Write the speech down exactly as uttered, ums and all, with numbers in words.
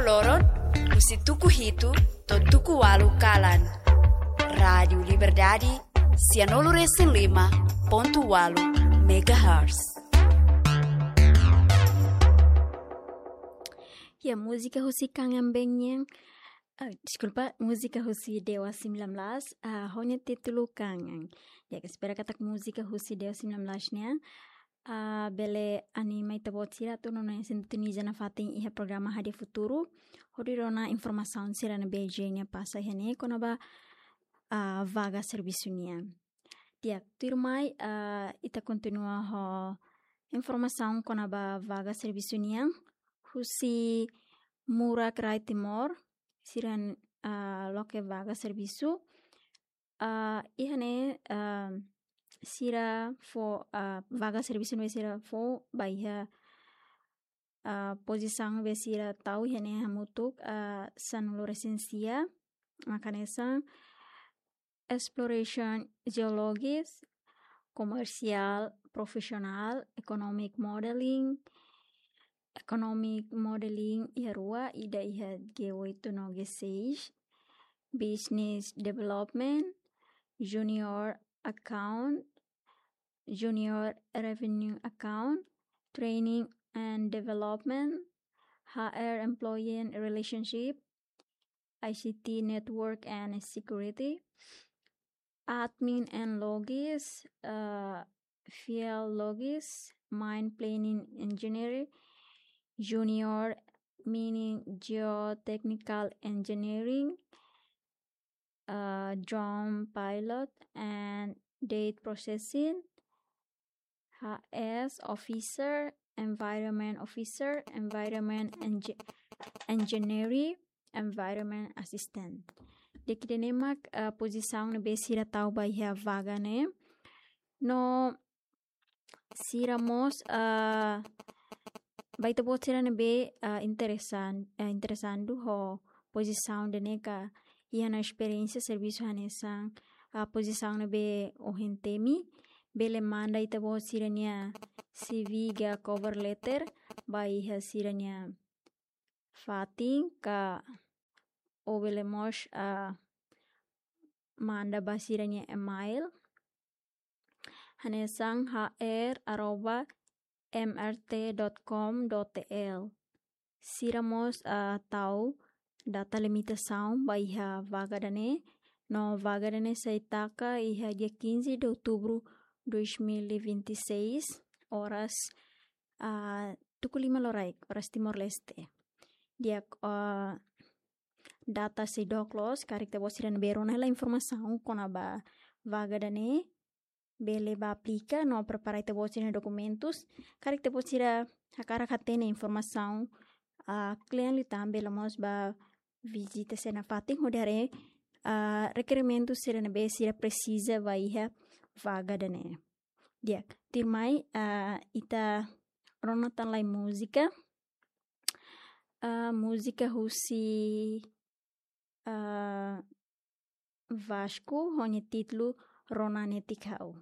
Loron, husi tuku hitu to'o tuku ualu kalan. Rádiu Liberdade, sianulu resin lima pontu ualu megahertz. Ya, múzika husi Kangen Band nian, ah, deskulpa, múzika husi Dewa sembilan belas, ah, ho nia títulu Kangen. Ya, espera katak múzika husi Dewa sembilan belas nian, ah, bele anima ita-boot sira atu nona sintoniza nafatin iha programa Hadi'a Futuru, hodi rona informasaun sira ne'ebé J N F pasa iha ne'e kona-ba, ah, vaga servisu nian. Di'ak, tuirmai, ah, ita kontinua ho informasaun kona-ba vaga servisu nian, husi Murak Rai Timor, sira, ah, loke vaga servisu. Ah, iha ne'e, ah, sira fó, ah, vaga servisu ne'ebé sira fó ba iha, ah, pozisaun ne'ebé sira tau iha ne'e hamutuk, ah, sanulu resin sia, mak hanesan exploration geologist, commercial professional, economic modeling, economic modeling iha rua, ida iha G oito no G seis, business development, junior account, junior revenue account, training and development, H R employee relationship, I C T network and security, admin and logis, uh, field logis, mine planning engineer, junior mining geotechnical engineering, uh, drone pilot and data processing, H S officer, environment officer, environment engi-, engineering, environment assistant. Di'ak, ida-ne'e mak, uh, pozisaun ne'ebé sira tau ba iha vaga ne'e. No sira mós, ah, ba ita-boot sira ne'ebé, ah, interesan-, ah, interesadu ho pozisaun ida-ne'e ka iha ona esperiénsia servisu hanesan, ah, pozisaun ne'ebé ohin temi, bele manda ita-boot sira-nia C V ka cover letter ba iha sira-nia fatin ka ou bele mós, ah, manda ba sira-nia email hanesan H R arroba M R T dot com dot T L. Sira mós, ah, tau data limitasaun ba iha vaga ida-ne'e, no vaga ida-ne'e sei taka iha dia quinze de outubro dois mil e vinte e seis, oras, ah, tuku lima loraik, oras Timor-Leste. Di'ak, ah, data sei dook loos, karik ita-boot sira ne'ebé rona hela informasaun kona-ba vaga ida-ne'e, bele bá aplika no prepara ita-boot sira-nia dokumentus. Karik ita-boot sira hakarak hatene informasaun, ah, kle'an liután, bele mós bá vizita sira-nia fatin hodi haree, ah, rekerimentu sira ne'ebé sira presiza ba iha vaga ida-ne'e. Di'ak, tuirmai, ah, ita rona tan lai múzika. Ah, múzika husi, ah, Vasco, ho nia títulu Rona Netik Ha'u.